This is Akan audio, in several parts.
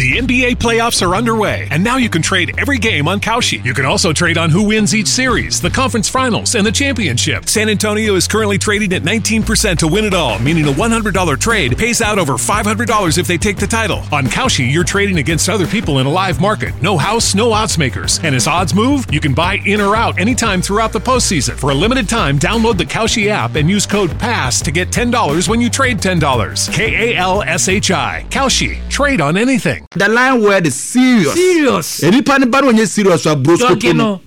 The NBA playoffs are underway, and now you can trade every game on Kalshi. You can also trade on who wins each series, the conference finals, and the championship. San Antonio is currently trading at 19% to win it all, meaning a $100 trade pays out over $500 if they take the title. On Kalshi, you're trading against other people in a live market. No house, no odds makers. And as odds move, you can buy in or out anytime throughout the postseason. For a limited time, download the Kalshi app and use code PASS to get $10 when you trade $10. K A L S H I. Kalshi. Trade on anything. The line word is serious. Serious. Nipa ne ba no ɔnyɛ serious a broskoto Dɔge no. no.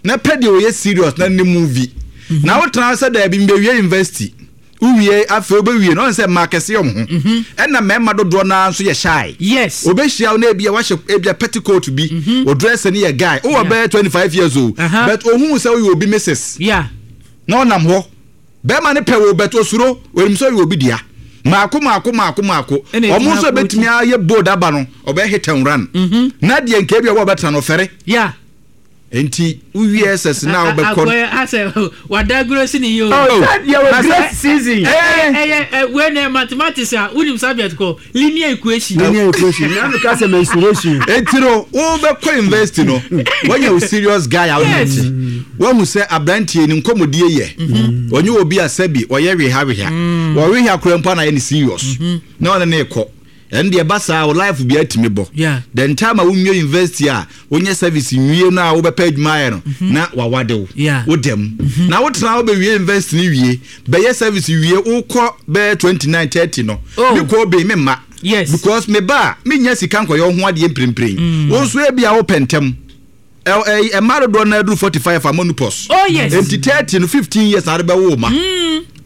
Na pɛ deɛ ɔyɛ serious na ne movie. Na wotena hɔ sɛ daabi mbɛwie university. Wowie afei wobɛwie no ɔn sɛ mmaa kɛse yɛ ɔmo ho. Ɛna mmarima dodoɔ no ara nso yɛ shy. Yes. Obehyia wo na ebia wahyɛ ebia petticoat bi. Wo dress no yɛ guy. Wowɔ bɛyɛ 25 years o. But ohuu sɛ woyɛ obi missus. Yeah. Na ɔnam hɔ. Bɛrima no pɛ wo but osuro, onim sɛ ɔyɛ obi dea. Maako maako maako maako. Ɛna Ɔmo ɛgyina nso ebetumi akɔɔkyi. ayɛ bold aba no, ɔbɛyɛ hit and run. Na deɛ nka ebi a ɔbɛtena no ɔfɛre. Yeah. Nti wowie SS na wobɛkɔ no. Akɔyɛ asɛ wadagrosi ne yie o. Oh, That yɛ wɔ na sɛ- great season. Eh, Ɛyɛ ɛ wei na mathematics a wonim subject kɔ linear equation. Linear equation. Na mi ka sɛ mensuration. Enti no wobɛkɔ university no woanya wo serious guy a wone Yes. te woahu sɛ aberanteɛ ni nkɔmmɔdie yɛ ɔnyɛ obi a sɛbi ɔyɛ weha weha wɔwehea koraa mpo ana yɛ ne serious na ɔne ne kɔ. Ɛno deɛ ɛba saa wo life biara tumi bɔ. The time a wonwie university a wonyɛ service nwie no a wobɛpɛ adwuma ayɛ no na wawade wo. Woda mu. Na wotena hɔ bɛwie university no wie, bɛyɛ service wie, wokɔ bɛyɛ 29, 30 no, Oh. me kɔ obey me mma. Because me ba a, mennya sika nkɔyɛ wo ho adeɛ mprempren. Wo nso ebia wopɛ ntɛm. Mmaa dodoɔ no aduru 45 a menopause. Oh yes. Enti 30 no 15 years na ade bɛwo wo ma.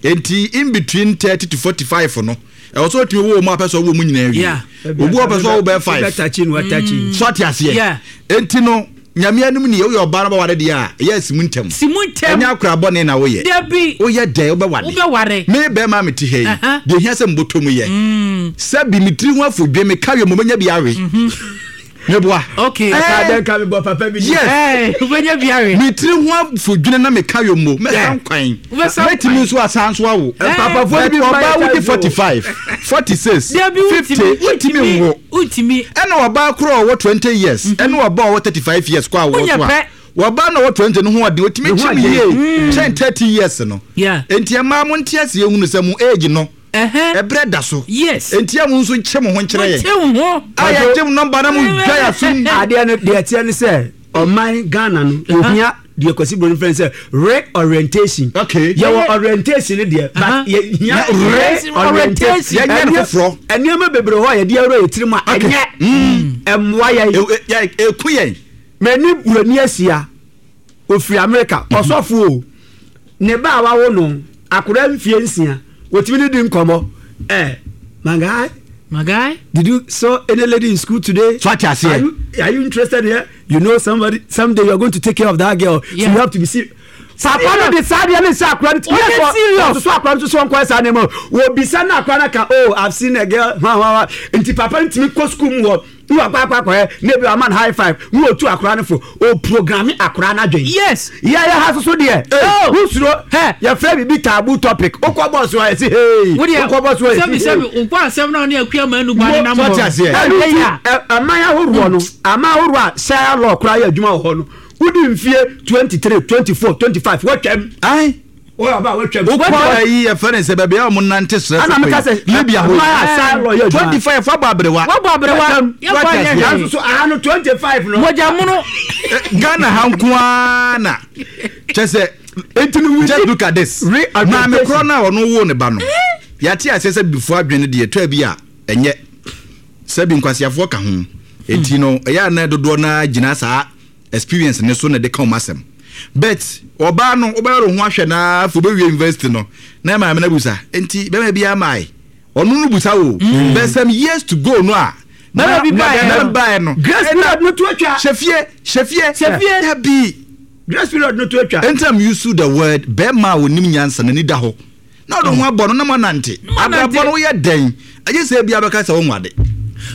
Enti in between 30 to 45 no, ɛwɔ sɛ otumi wo wo ma apɛ sɛ ɔwo mu nyinaa wie. Obi wɔ pɛ sɛ ɔwo bɛyɛ 5. Wobɛtakyi no watakyi. So ate aseɛ. Yeah. Enti no Nyame anim nie, woyɛ ɔbaa na wobɛware deɛ a, ɛyɛ asi mu ntɛm. Si mu ntɛm. Ɛnyɛ akora bɔne na woyɛ. Dabi. Woyɛ dɛn wobɛware. Wobɛware. Me bɛrima a mete ha yi, deɛ ehia sɛ mbɔtɔ mu yɛ. Sɛbi me tiri ho afodwe, meka wie mo mɛnya bi awe. Meboa. Okay. Eh. Aka dɛn ka mebɔ papa bi. Yes. Eh, wobɛnya bi awe. Me tiri ho afodwene na meka yɛ mo. Mɛsa nkwan. Wobɛsa nkwan. Mɛtumi nso asan nso awo. Eh. Papafoɔ bi But mma yɛ ɔbaa wodi times o. 45, 46, Dabi 50, wontumi wontumi nwo. Wontumi. Ɛna ɔbaa koro a ɔwɔ 20 years, ɛne ɔbaa a ɔwɔ 35 years kɔ awoɔ Wonyɛ so a. pɛ. Wɔbaa na ɔwɔ 20 no ho ɔden, otumi Ne ho kyim ɔden. yie kyɛn 30 years no. Yeah. Enti ɛmaa mo nte aseɛ hunu sɛ mo age no, ɛberɛ da so. Yes. Enti a mo nso nkyɛ mo ho nkyerɛ yɛn. Mo nkyɛ mo ho. A yɛgye mo nɔmba na mo dwa yɛ asom. Adeɛ no deɛ ɛteɛ ne sɛ ɔman Ghana no ohia deɛ Kwasi Broni frɛ no sɛ reorientation. Okay. Yɛwɔ orientation no deɛ but yɛhia reorientation. Yɛnyɛ no foforɔ. Nneɛma bebree hɔ a yɛde awura yɛ tirim a ɛnyɛ ɛmmoa yɛn. Ɛku yɛn. Mani Broni asia. Ɔfiri Amerika, ɔsɔfo o, ne ba a wawo no, akwadaa mfie nsia, wɔtumi ne di nkɔmmɔ. Eh, my guy. My guy. Did you saw any lady in school today? So ate aseɛ. Are you interested here? You know somebody, someday you are going to take care of that girl. Yeah. So you have to be serious. Papa no de saa deɛ ne nsa akora no Ɔyɛ serious. Ɔsoso akora no soso nkɔyɛ saa nneɛma o. Wɔbisa na akora no ka oh I've seen a girl hwa hwa hwa. Nti papa no tumi kɔ school mu hɔ. Ne wakɔ akɔ akɔyɛ na ebi wama no high five ne otu akora no fo o programme akora no adwen. Yes. Yɛ yɛ ha soso deɛ. Oh. Wosuro. Hɛ. Yɛfrɛ biribi taboo topic. Wokɔ bɔs so a yɛsi hey. Wodeɛ Wokɔ bɔs so a yɛsi sɛbi hey. sɛbi nkɔ asɛm na ɔne akua ma anu ba ne nam So hɔ. ate aseɛ. Ɛno Ɛyɛ nti a. aman ahoroɔ no aman ahoroɔ a Sharia law koraa yɛ adwuma wɔ hɔ no wodi mfie 23 24 25 watwam. Ae. Wokɔ ayi yɛfrɛ ne sɛ baabi a wɔn nante serɛ so kɔ yi Libya hɔ yi 25 wabɔ aberewa. Wabɔ aberewa. Yɛkɔ anyɛ hwee. Nanso so aha no 25 no. Mogya mono. Ghana ha nko ara na kyɛ sɛ just look at this. Maame korɔ no a ɔno woo ne ba no yɛate aseɛ sɛ bibifoɔ adwene deɛ ɛtɔ bi a ɛnyɛ sɛ bi nkwaseafoɔ ka ho enti no ɛyɛ a na dodoɔ no ara gyina saa experience ne so na ɛde ka wɔn asɛm but ɔbaa no wobɛyɛ ho ahwɛ na afei wobɛwie university no na maame no abusa nti bɛma bi amae ɔno no busa o but some years to go no a bɛma bi baeɛ no baeɛ no grace period no to atwa hyɛ fie hyɛ fie hyɛ fie dabi grace period no to atwa nti am use the word bɛrima a onim nyansa n'ani da hɔ na ɔde ho abɔ no na moanante. Abrabɔ no woyɛ dɛn? Agye sɛ ebia bɛka sɛ wonwade.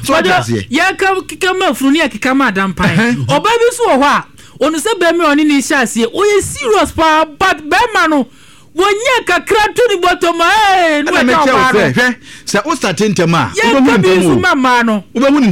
So wate aseɛ? Yɛka keka ma afunu ne yɛkeka ma adampan. Ɔbaa bi nso wɔ hɔ a, ɔno sɛ bɛrima a ɔne ne hyɛ aseɛ, ɔyɛ serious paa but bɛrima no wɔnyɛ kakra to ne bɔtɔ ma ee ne Ɛna wɔagya mekyerɛ wo ɔbaa no. sɛ hwɛ sɛ wo starte ntɛm a Yɛnka wobɛhu bi ntɛm nso o. ma mmaa no. Wobɛhu ne ntɛm.